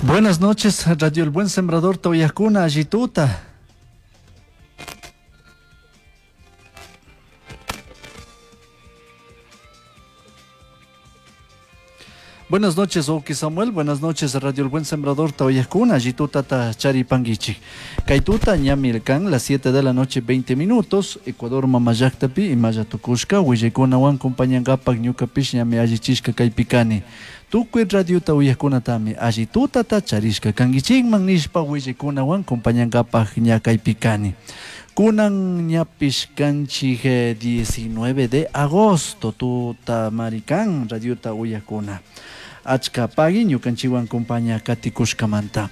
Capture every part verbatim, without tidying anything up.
Buenas noches, Radio El Buen Sembrador Toyacuna, Allituta. Buenas noches, Oki Samuel. Buenas noches, Radio El Buen Sembrador Toyacuna, Allituta Charipanguichi. Kaituta ñamilkan, las siete de la noche, veinte minutos. Ecuador Mamallaktapi y Mayatukushka, Willaykunawan compañangapak ñukapish ñami allichishka kaypikani. Tukuy radiota uyajkunatami allitutata charishka kankichikman nishpa willaykunawan compañangapak ña kaypikani. Kunan ñapish kanchik diecinueve de agosto tuta marikan radiota uyajkuna. Achka pagui ñukanchikwan compaña katikushkamanta.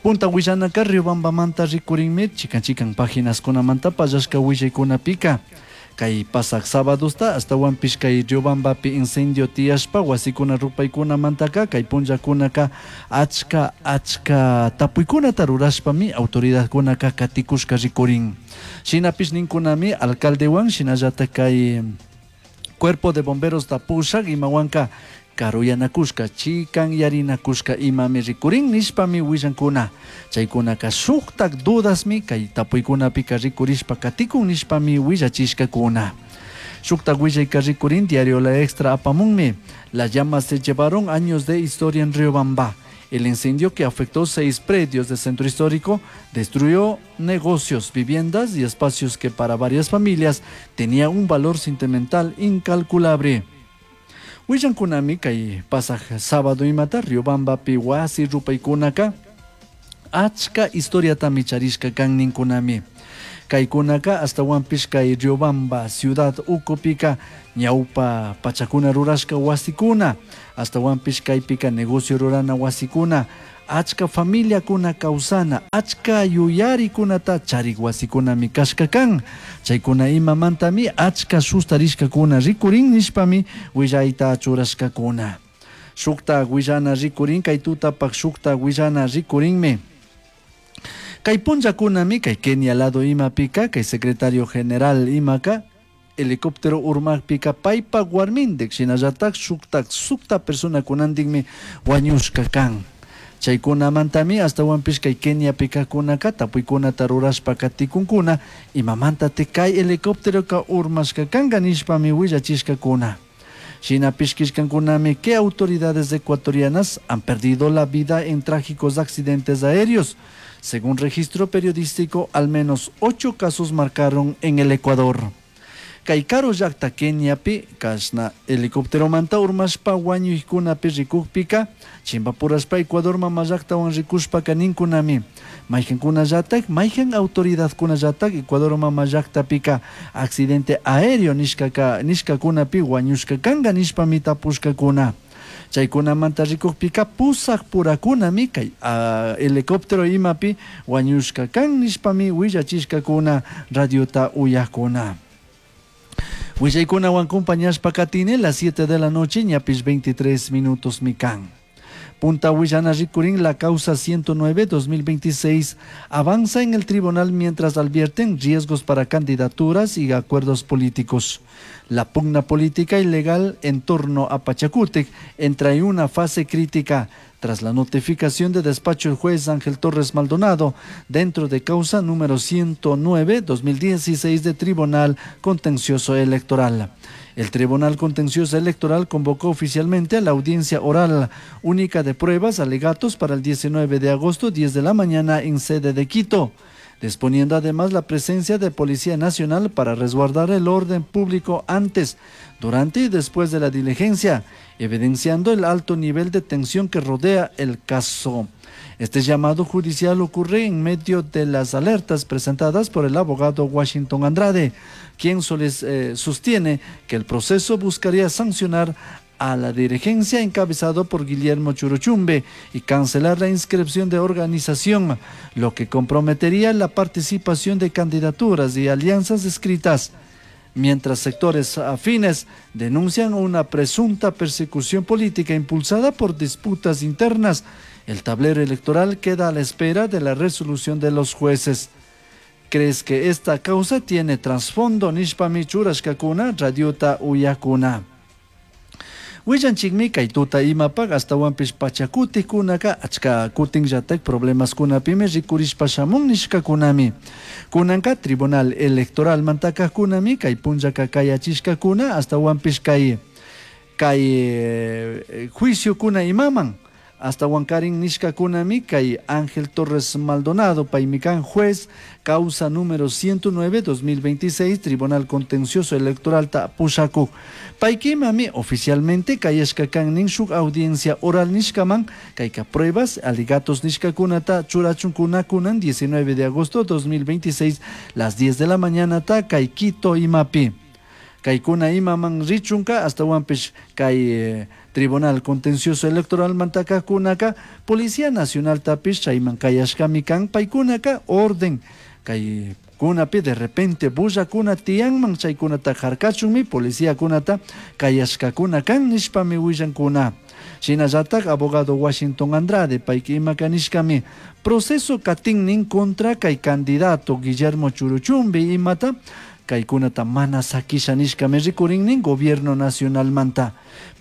Punta willanaka Riobambamanta rikurinmi chikan chikan páginas kunamanta pallashka willaykunapika. Kay pasak sábadosta astawanpish kay Riobambapi incendio tiyashpa wasikuna rupaykunamantaka kay punllakunaka achka achka tapuykunata rurashpami autoridadkunaka katikushka rikurin. Shinapish ninkunami alcaldewan shinallata kay cuerpo de bomberos tapushak imawanka karuyanakushka chikan yarinakushka imami rikurin nishpami willankuna. Chaykunaka shuktak dudasmi kay tapuykunapika rikurishpa katikun nishpami willachishkakuna. Shuktak willayka rikurin diario La Extra apamunmi. Las llamas se llevaron años de historia en Riobamba. El incendio que afectó seis predios del centro histórico destruyó negocios, viviendas y espacios que para varias familias tenía un valor sentimental incalculable. Willankunami kay pasaj sábado imata Riobambapi wasi rupaykunaka achka historiatami charishka kan ninkunami. Kaykunaka astawanpish kay Riobamba ciudad ukupika ñawpa pachakuna rurashka wasikuna astawanpish kaypika negocio rurana wasikuna achka familiakuna kawsana achka yuyarikunata charik wasikunami kashka kan. Chaykuna imamantami achka sustarishkakuna rikurin nishpami willayta churashkakuna. Shukta willana rikurin kay tutapak shukta willana rikurinmi. Kay punllakunami kay Kenia lado imapika kay secretario general imaka helicóptero urmakpika paypa warmindik shinallatak shuktak sukta personakunantikmi wañushka kan. Chaykunamantami astawanpish kay Keniapika kunaka tapuykunata rurashpa katikunkuna imamanta te kay helicópteroka urmashka kanka nishpami willachishkakuna. Shinapish kishkankunami que autoridades ecuatorianas han perdido la vida en trágicos accidentes aéreos. Según registro periodístico, al menos ocho casos marcaron en el Ecuador. Kay karu llakta Keniapi kashna helicópteromanta urmashpa wañuykunapi rikukpika chimpapurashpa Ecuador mama llaktawan rikushpaka ninkunami maykankunallatak maykan autoridadkunallatak Ecuador mama llaktapika accidente aéreo nishkaka nishkakunapi wañushka kanka nishpami tapushkakuna. Chaykunamanta rikukpika pusak purakunami kay uh, helicóptero imapi wañushka kan nishpami willachishkakuna radiota uyakuna. Willaykunawan compañashpa katine las siete de la noche ñapish veintitrés minutos mikan. Punta Willana rikurin la causa ciento nueve dos mil veintiséis avanza en el tribunal mientras advierten riesgos para candidaturas y acuerdos políticos. La pugna política ilegal en torno a Pachakutik entra en una fase crítica tras la notificación de despacho del juez Ángel Torres Maldonado dentro de causa número ciento nueve dos mil dieciséis de Tribunal Contencioso Electoral. El Tribunal Contencioso Electoral convocó oficialmente a la audiencia oral única de pruebas alegatos para el diecinueve de agosto, diez de la mañana en sede de Quito, disponiendo además la presencia de Policía Nacional para resguardar el orden público antes, durante y después de la diligencia, evidenciando el alto nivel de tensión que rodea el caso. Este llamado judicial ocurre en medio de las alertas presentadas por el abogado Washington Andrade, quien soles, eh, sostiene que el proceso buscaría sancionar a la dirigencia encabezado por Guillermo Churuchumbe y cancelar la inscripción de organización, lo que comprometería la participación de candidaturas y alianzas escritas. Mientras sectores afines denuncian una presunta persecución política impulsada por disputas internas, el tablero electoral queda a la espera de la resolución de los jueces. ¿Crees que esta causa tiene trasfondo? Nishpami churashkakuna, radiota uyakuna. Willanchikmi kay tuta imapaq astawanpish pachakutikunaka achka kutinllatak problemaskunapimi rikurishpa shamun nishkakunami. Kunanka Tribunal Electoral mantakajkunami kay punllaka kayachishkakuna astawanpish kay kay eh, juiciokuna imaman astawankarin nishkakunami kay Ángel Torres Maldonado paymi kan juez causa número ciento nueve dos mil veintiséis Tribunal Contencioso Electoral ta pushakuk paykimami oficialmente kayashka kan nin shuk audiencia oral nishkaman kayka pruebas alegatos nishkakunata churachunkuna kunan diecinueve de agosto dos mil veintiséis las diez de la mañana ta kay Quito imapi kaykuna imaman richunka astawanpish kay eh, Tribunal Contencioso Electoral mantakajkunaka Policía Nacional tapish chayman kayashkami kan paykunaka orden kay kunapi de repente bullakuna tiyanman chaykunata harkachunmi policía kunata kayashkakuna kan nishpami willankuna. Shinallatak abogado Washington Andrade payki imaka nishkami proceso katinnin contra kay candidato Guillermo Churuchumbi imata kaykunata mana sakisha nishkami rikurinnin gobierno nacionalmanta.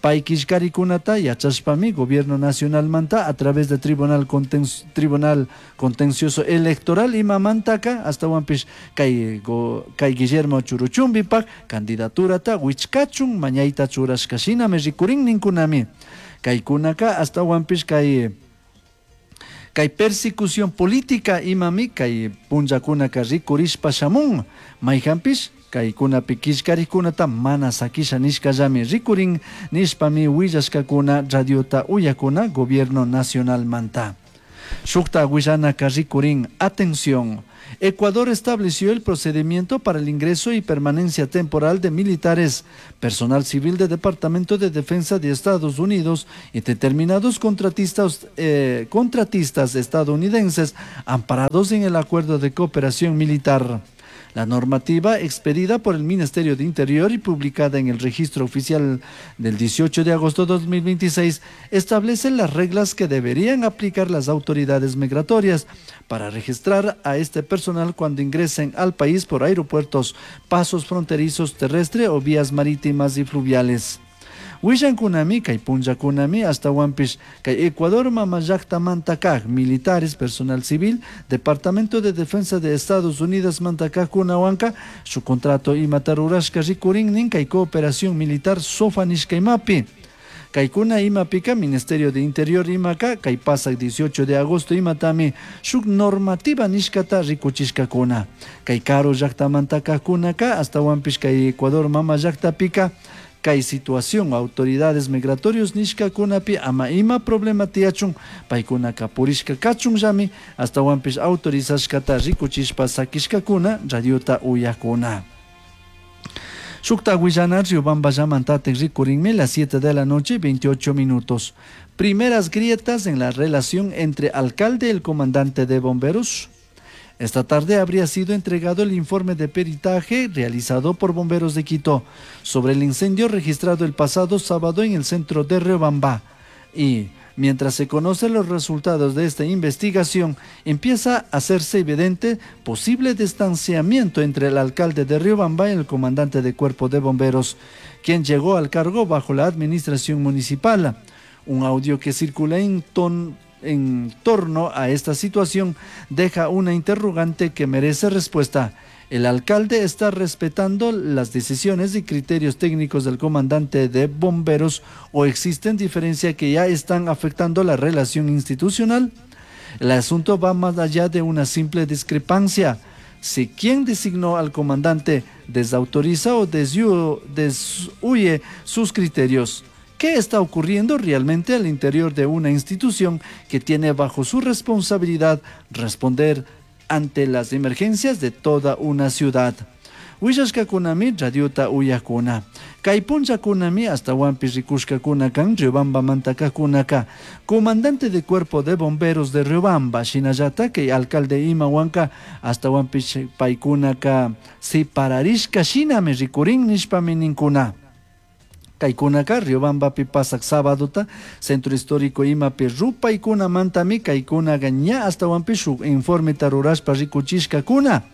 Pay killkarikunata yachashpami gobierno nacionalmanta a través de Tribunal Conten-, Tribunal Contencioso Electoral imamantaka astawanpish kay go-, kay Guillermo Churuchumbipak candidaturata wichkachun mañayta churashka shinami rikurinninkunami. Kaykunaka astawanpish kay kay persecución política imami kay punllakunaka rikurishpa shamun mayhanpish kaykunapi killkarikunata mana sakisha nishkallami rikurin nishpami willashkakuna radiota uyakuna gobierno nacionalmanta. Shukta willanaka rikurin, atención. Ecuador estableció el procedimiento para el ingreso y permanencia temporal de militares, personal civil del Departamento de Defensa de Estados Unidos y determinados contratistas, eh, contratistas estadounidenses amparados en el Acuerdo de Cooperación Militar. La normativa expedida por el Ministerio de Interior y publicada en el Registro Oficial del dieciocho de agosto de dos mil veintiséis establece las reglas que deberían aplicar las autoridades migratorias para registrar a este personal cuando ingresen al país por aeropuertos, pasos fronterizos terrestre o vías marítimas y fluviales. Willankunami, kay punllakunami, astawanpish kay Ecuador mama llaktamanta kaj, militares, personal civil, Departamento de Defensa de Estados Unidos mantakajkunawanka, su contrato imata rurashka rikurinnin kay cooperación militar SOFA nishka imapi. Kaykuna imapika, Ministerio de Interior imaka, kay pasak dieciocho de agosto imatami, shuk normativa nishkata rikuchishkakuna. Kay karu llaktamanta kajkunaka, astawanpish kay Ecuador mama llaktapika, kay situación autoridades migratorios nishkakunapi ama ima problema tiyachun paykunaka purishka kachunllami astawanpish autorizashkata rikuchishpa sakishkakuna radiota uyakuna. Shukta willana Riobamba llamantatik rikurinmi las siete de la noche veintiocho minutos. Primeras grietas en la relación entre alcalde y el comandante de bomberos. Esta tarde habría sido entregado el informe de peritaje realizado por bomberos de Quito sobre el incendio registrado el pasado sábado en el centro de Riobamba. Y mientras se conocen los resultados de esta investigación, empieza a hacerse evidente posible distanciamiento entre el alcalde de Riobamba y el comandante de cuerpo de bomberos, quien llegó al cargo bajo la administración municipal. Un audio que circula en ton-, en torno a esta situación deja una interrogante que merece respuesta. ¿El alcalde está respetando las decisiones y criterios técnicos del comandante de bomberos o existen diferencias que ya están afectando la relación institucional? El asunto va más allá de una simple discrepancia. Si quien designó al comandante desautoriza o deshu-, deshuye sus criterios, ¿qué está ocurriendo realmente al interior de una institución que tiene bajo su responsabilidad responder ante las emergencias de toda una ciudad? Willashkakunami radiota uyakuna. Kay punllakunami astawanpish rikushkakuna kan Riobamba mantakakunaka. Comandante de cuerpo de bomberos de Riobamba, shinallata kay alcalde imawanka astawanpish paykunaka separarishka shinami rikurin nishpami ninkuna. Kaykunaka Riobambapi pasak sábadota centro histórico imapi rupaykunamantami kaykunaka ña astawanpish shuk informeta rurashpa rikuchishkakuna.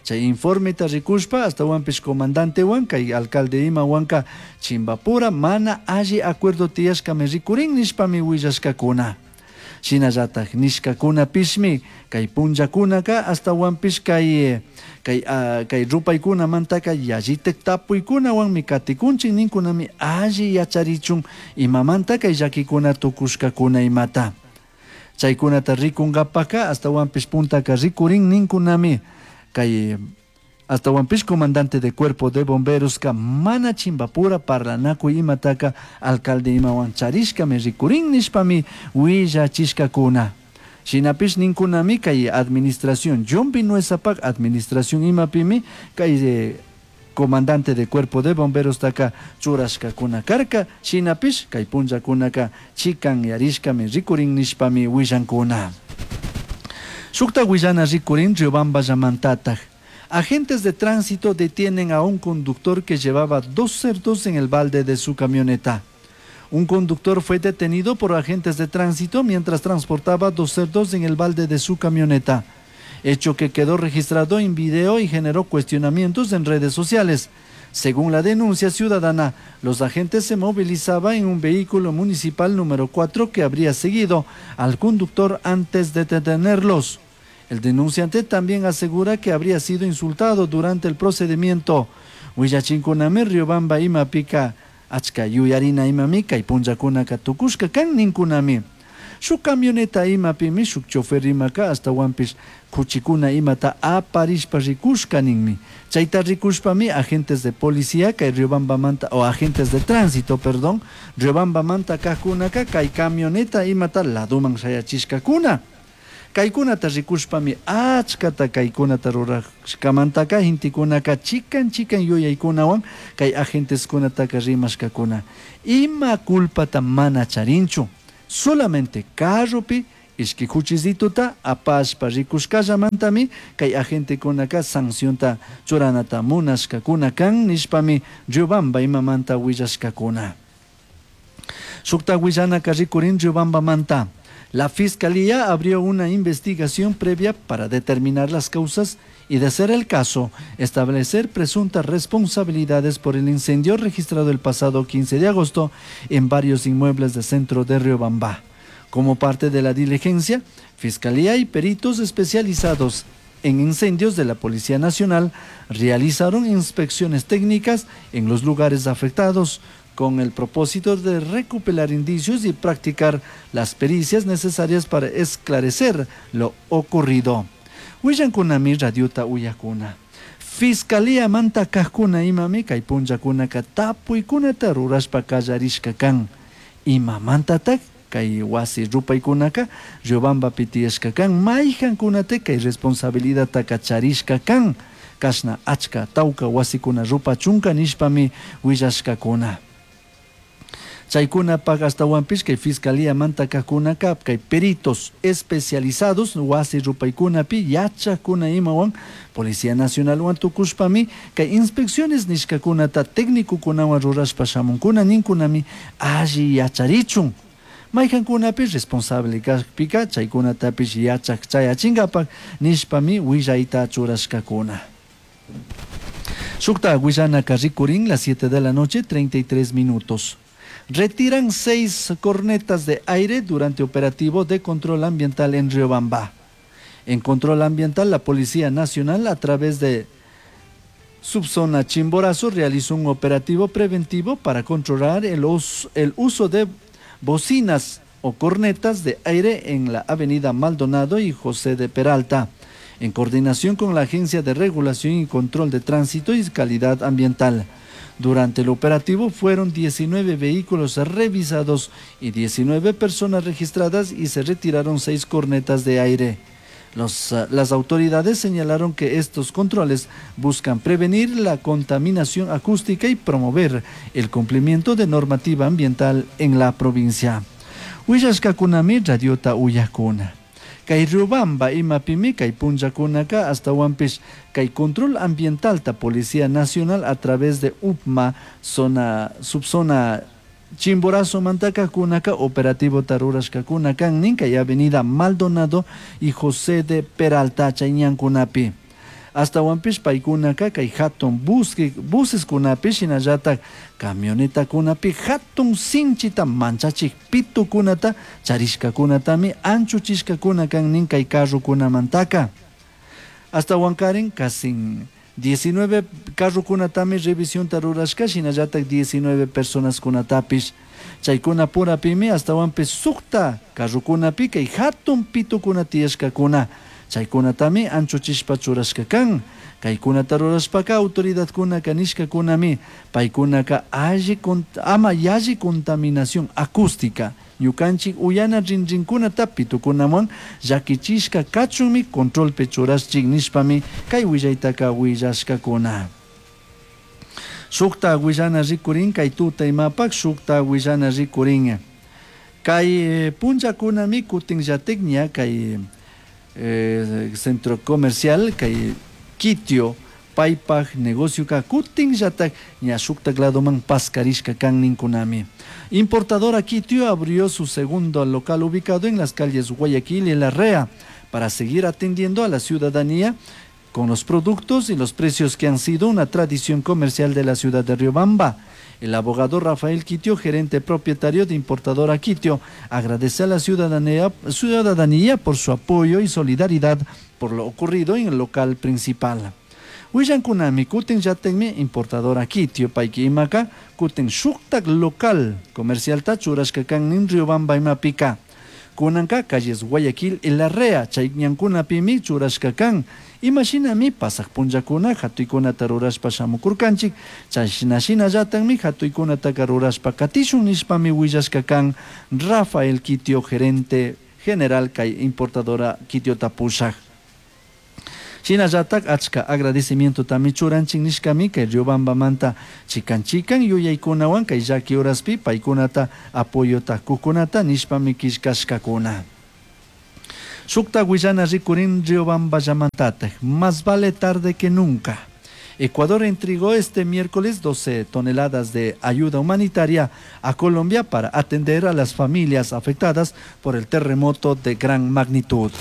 Chay informeta rikushpa ashtawanpish comandantewan kay alcalde imawanka Chimbapura mana alli acuerdo tiyashkami rikurin nishpami willashkakuna. Shinallatak nishkakunapishmi kay punllakunaka ashtawanpish kay kay uh, kay rupaykunamantaka yallitak tapuykunawanmi katikunchik ninkunami alli yacharichun imamanta kay llakikuna tukushkakuna imata. Chaykunata rikunkapaka ashtawanpish puntaka rikurin ninkunami kay ashtawanpish comandante de cuerpo de bomberos ka mana Chimbapura parlanakuy imataka alcalde imawan charishkami rikurin nishpami willachishkakuna. Shinapish ninkunami kay administración John Vinuezapak administración imapimi kay eh, comandante de cuerpo de bomberos taka churashkakuna karka shinapish kay punllakunaka chikanyarishkami rikurin nishpami willankuna. Shukta willana rikurin Riobamballamantataj. Agentes de tránsito detienen a un conductor que llevaba dos cerdos en el balde de su camioneta. Un conductor fue detenido por agentes de tránsito mientras transportaba dos cerdos en el balde de su camioneta, hecho que quedó registrado en video y generó cuestionamientos en redes sociales. Según la denuncia ciudadana, los agentes se movilizaban en un vehículo municipal número cuatro que habría seguido al conductor antes de detenerlos. El denunciante también asegura que habría sido insultado durante el procedimiento. Willachinkunami Riobamba imapika achka yuyarina imami kay punllakunaka tukushka kan ninkunami. Shuk camioneta imapimi shuk chofer imaka ashtawanpish kuchikuna imata aparishpa rikushka ninmi. Chayta rikushpami agentes de policía kay Riobambamanta o agentes de tránsito, perdón, Riobambamanta kajkunaka kay camioneta imata laduman shayachishkakuna. Kaykunata rikushpami achkata kaykunata rurashkamantaka gentekunaka chikan chikan yuyaykunawan kay agenteskunataka rimashkakuna. Ima culpata mana charinchu, solamente carropi ishki kuchisituta apashpa rikushkallamantami kay agentekunaka sancionta churanata munashkakuna kan nishpami Riobamba imamanta willashkakuna. Shukta willanaka rikurin Riobambamanta. La Fiscalía abrió una investigación previa para determinar las causas y, de ser el caso, establecer presuntas responsabilidades por el incendio registrado el pasado quince de agosto en varios inmuebles del centro de Riobamba. Como parte de la diligencia, Fiscalía y peritos especializados en incendios de la Policía Nacional realizaron inspecciones técnicas en los lugares afectados, con el propósito de recopilar indicios y practicar las pericias necesarias para esclarecer lo ocurrido. Willankunami radiota uyakuna. Fiscalía manta kajkuna imami kay punllakunaka tapuykunata rurashpa kallarishka kan. Imamantatak kay wasi rupaykunaka Riobambapi tiyashka kan, mayjankunata kay responsabilidadtaka charishka kan. Kashna achka tawka wasikuna rupachunka nishpami willashkakuna. Chaykunapak ashtawanpish kay Fiscalía manta kajkunaka kay peritos especializados wasi rupaykunapi yachakuna imawan Policía Nacionalwan tukushpami kay inspecciones nishkakunata técnicokunawan rurashpa shamunkuna ninkunami alli yacharichun. Mayjankunapish responsable kajpika chaykunatapish yachak chayachinkapak nishpami willayta churashkakuna. Shukta willanaka rikurin las siete de la noche treinta y tres minutos. Retiran seis cornetas de aire durante operativo de control ambiental en Riobamba. En control ambiental, la Policía Nacional, a través de Subzona Chimborazo, realizó un operativo preventivo para controlar el us-, el uso de bocinas o cornetas de aire en la avenida Maldonado y José de Peralta, en coordinación con la Agencia de Regulación y Control de Tránsito y Calidad Ambiental. Durante el operativo fueron diecinueve vehículos revisados y diecinueve personas registradas y se retiraron seis cornetas de aire. Los, eh, las autoridades señalaron que estos controles buscan prevenir la contaminación acústica y promover el cumplimiento de normativa ambiental en la provincia. Willashkakunami radiota uyakuna. Kay Riobamba imapimi kay punllakunaka ashtawanpish kay control ambiental ta Policía Nacional a través de U P M A zona, subzona Chimborazo mantaka kunaka operativo tarurashkakuna kan nin kay avenida Maldonado y José de Peralta chayñankunapi. Ashtahuanpish paykunaka kay hatun buseskunapi shinallatak camionetakunapi hatun sinchita manchachik pitukunata charishkakunatami anchuchishkakuna kan nin kay carrokunamantaka. Ashtahuankarin casi diecinueve carrokunatami revisionta rurashka shinallatak diecinueve personaskunatapish. Chaykuna purapimi ashtahuanpish sukta carrokunapi kay hatun pitukuna tiyashkakuna. Chaykunatami anchuchishpa churashka kan. Kaykunata rurashpaka autoridadkunaka nishkakunami paykunaka alli ama yalli contaminación acústica ñukanchik uyana rinrinkunata pitukunawan llakichishka kachunmi controlpi churashchik nishpami kay willaytaka willashkakuna. Shukta willana rikurin kay tuta imapak shukta willana rikurin. Kay punllakunami kutinllatik ña kay eh, centro comercial kay Kitio paypaj negocioka kutinllatak ña shuktak ladoman paskarishka kan ninkunami. Importadora Kitio abrió su segundo local ubicado en las calles Guayaquil y Larrea para seguir atendiendo a la ciudadanía con los productos y los precios que han sido una tradición comercial de la ciudad de Riobamba. El abogado Rafael Quitio, gerente propietario de Importadora Quitio, agradece a la ciudadanía, ciudadanía por su apoyo y solidaridad por lo ocurrido en el local principal. Willankunami kutin llatikmi Importadora Quitio payki imaka kutin shuktak local comercialta churashka kan nin Riobamba imapika. Kunanka calles Guayaquil y Larrea chay ñankunapimi churashka kan. Imashinami pasaq punllakuna hatuykunata rurashpa shamukurkanchik chashna shinallatakmi hatuykunataka rurashpa katishun nishpami willashka kan Rafael Quitio, gerente general kay Importadora Quitiota pushak. Shinallatak achka agradecimientotami churanchik nishkami kay Riobambamanta chikan chikan yuyaykunawan kay llaki horaspi paykunata apoyota kukunata nishpami killkashkakuna. Shukta willana rikurin Riobamballamantatak, más vale tarde que nunca. Ecuador entregó este miércoles doce toneladas de ayuda humanitaria a Colombia para atender a las familias afectadas por el terremoto de gran magnitud.